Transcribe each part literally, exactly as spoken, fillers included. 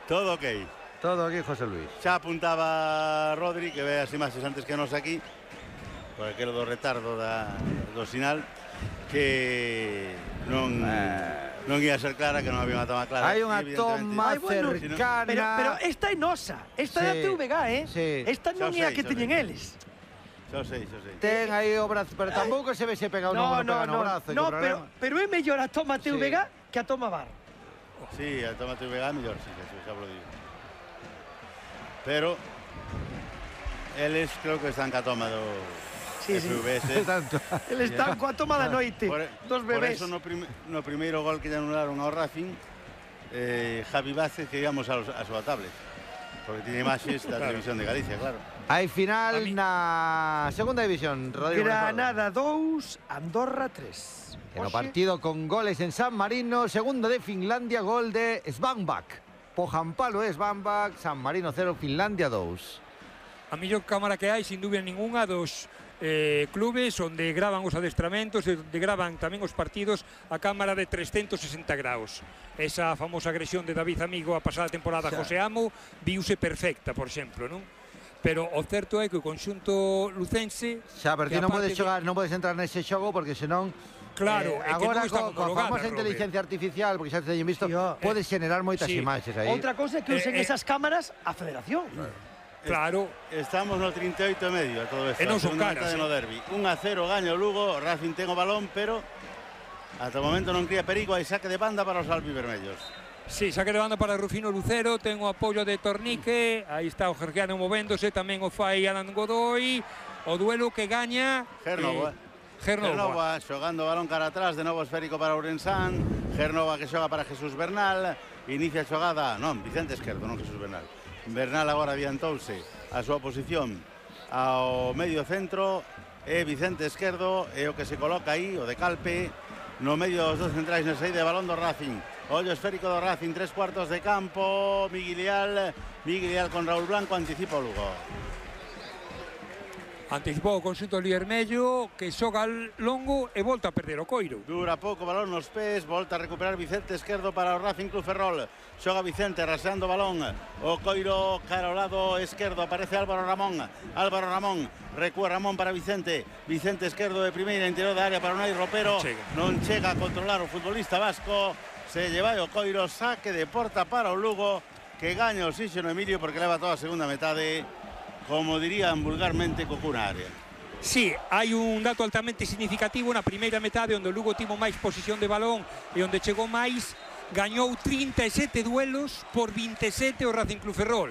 Todo ok. Todo aquí, José Luis. Xa apuntaba Rodri, que ve as imaxes antes que nos aquí, por aquelo do retardo da, do sinal, que non, eh... non ia ser clara, que non había unha toma clara. Hai unha toma cercana. Pero, pero esta é nosa, esta é sí, a T V G, eh? Sí. Esta non é a que teñen eles. Xa sei, xa sei. Ten aí o brazo, pero tampouco se ve se pega o no, no, no, no, brazo. No, pero, pero é mellor a toma T V G sí, que a toma V A R. Sí, a toma T V G é mellor, sí, xa vos digo. Pero eles creo que están ca toma do sí, F V S. Sí. Eles están coa toma da noite por, dos bebés. Por eso no, prim no primeiro gol que lle anularon ao Racing, eh, Javi Vázquez que íbamos a, a súa tablet, porque tiene imaxes da claro, televisión de Galicia, claro. Hai final na segunda división, Rodrigo. Granada dous, Andorra tres. En o partido con goles en San Marino, segundo de Finlandia, gol de Svanbak. Pojampalo é Svanbak, San Marino cero, Finlandia dous. A mellor cámara que hai, sin dúbida ninguna, dos eh, clubes onde gravan os adestramentos e onde gravan tamén os partidos a cámara de trescentos sesenta graus. Esa famosa agresión de David Amigo a pasada temporada a José Amo viuse perfecta, por exemplo, non? Pero o certo é que o conxunto lucense... Xa, pero ti non podes xogar, non podes entrar nese xogo porque senón... Claro, eh, é que agora non está co, coa famosa Robert. inteligencia artificial, porque xa te teñen visto, Tío, podes xenerar moitas sí, imaxes aí. Outra cousa é que usen eh, esas cámaras a Federación. Claro. Estamos no trinta e oito e medio a todo esto. E non son caras, no derbi. un a cero gaña o Lugo, Racing ten o balón, pero ata o momento non cría perigo, hai saque de banda para os albivermellos. Sí, saque de banda para Rufino Lucero, ten o apoio de Tornique, aí está o Georgiano movéndose, tamén o fai Alan Godoy, o duelo que gaña Gernova. Eh, Gernova. Gernova xogando o balón cara atrás, de novo esférico para Ourensán, Gernova que xoga para Jesús Bernal, inicia a xogada, non, Vicente Esquerdo, non Jesús Bernal. Bernal agora adiantouse a súa posición ao medio centro, e Vicente Esquerdo é o que se coloca aí, o de Calpe, no medio dos dos centrais na saída de balón do Racing. Ollo esférico do Racing, tres cuartos de campo, Miguel Leal, Miguel Leal con Raúl Blanco, anticipa o Lugo. Anticipou o conxunto Liermello, que xoga longo e volta a perder o coiro. Dura pouco, balón nos pés, volta a recuperar Vicente Esquerdo para o Racing Club Ferrol. Xoga Vicente, raseando o balón, o coiro cara ao lado esquerdo, aparece Álvaro Ramón. Álvaro Ramón, recúa Ramón para Vicente. Vicente Esquerdo de primeira, interior da área para Unai Ropero. Non chega. non chega a controlar o futbolista vasco. Se lleva o coiro, saque de porta para o Lugo, que gaña o oxígeno Emilio porque leva toda a segunda metade, como dirían vulgarmente, co cuna área. Sí, hai un dato altamente significativo na primeira metade onde o Lugo tivo máis posición de balón e onde chegou máis, gañou trinta e sete duelos por vinte e sete o Racing Club Ferrol.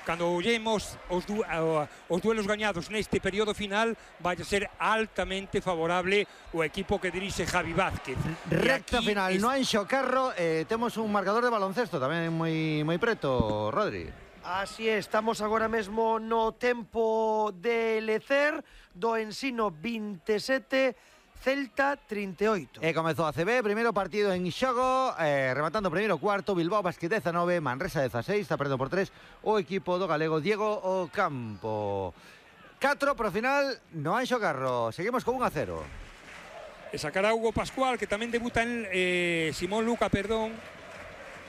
Cando ollemos os, du uh, os duelos gañados neste período final, vai a ser altamente favorable o equipo que dirixe Javi Vázquez. Recta final, es... no Anxo Carro, eh, temos un marcador de baloncesto tamén moi moi preto, Rodri. Así é, estamos agora mesmo no tempo de lecer do Ensino vinte e sete, Celta trinta e oito. E comezou a C B, primeiro partido en xogo, eh, rematando o primeiro cuarto, Bilbao Basket dezanove, Manresa dezaseis, está perdendo por tres o equipo do galego Diego Ocampo. catro pro final no Anxo Carro, seguimos con un a cero. E sacará Hugo Pascual, que tamén debuta en eh, Simón Luca, perdón,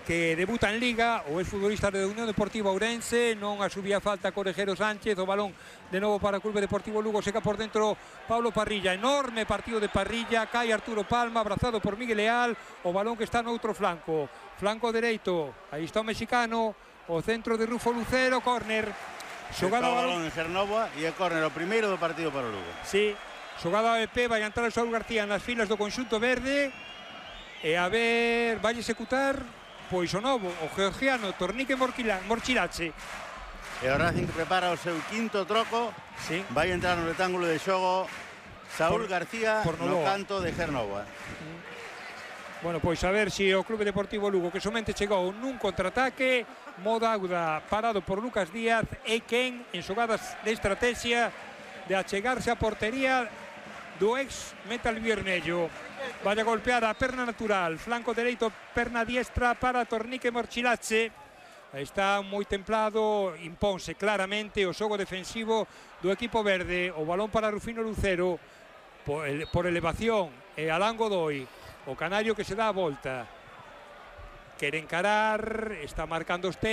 que debuta en Liga, o exfutbolista de Unión Deportiva Ourense, non a subía falta Corejero Sánchez, o balón de novo para o Clube Deportivo Lugo, seca por dentro Pablo Parrilla, enorme partido de Parrilla, cae Arturo Palma, abrazado por Miguel Leal, o balón que está no outro flanco, flanco dereito, aí está o mexicano, o centro de Rufo Lucero, córner, xogada o balón en Gernova e é córner o primeiro do partido para o Lugo. Sí, xogada A B P, vai entrar o Saúl García nas filas do conxunto verde, e a ver, vai executar pois o novo, o georgiano Tornique Morchilache. E o Racing prepara o seu quinto troco, sí, vai entrar no rectángulo de xogo Saúl por, García por no canto de Gernova. Mm. Bueno, pois a ver se si o Clube Deportivo Lugo, que somente chegou nun contraataque, Moda Auda parado por Lucas Díaz, e quen en xogadas de estrategia de achegarse a portería do ex Metal Viermello. Vai a golpear a perna natural, flanco dereito, perna diestra para Tornique Morchilache. Está moi templado, imponse claramente o xogo defensivo do equipo verde. O balón para Rufino Lucero por, ele, por elevación, e Alan Godoy, o canario que se dá a volta. Quere encarar, está marcando os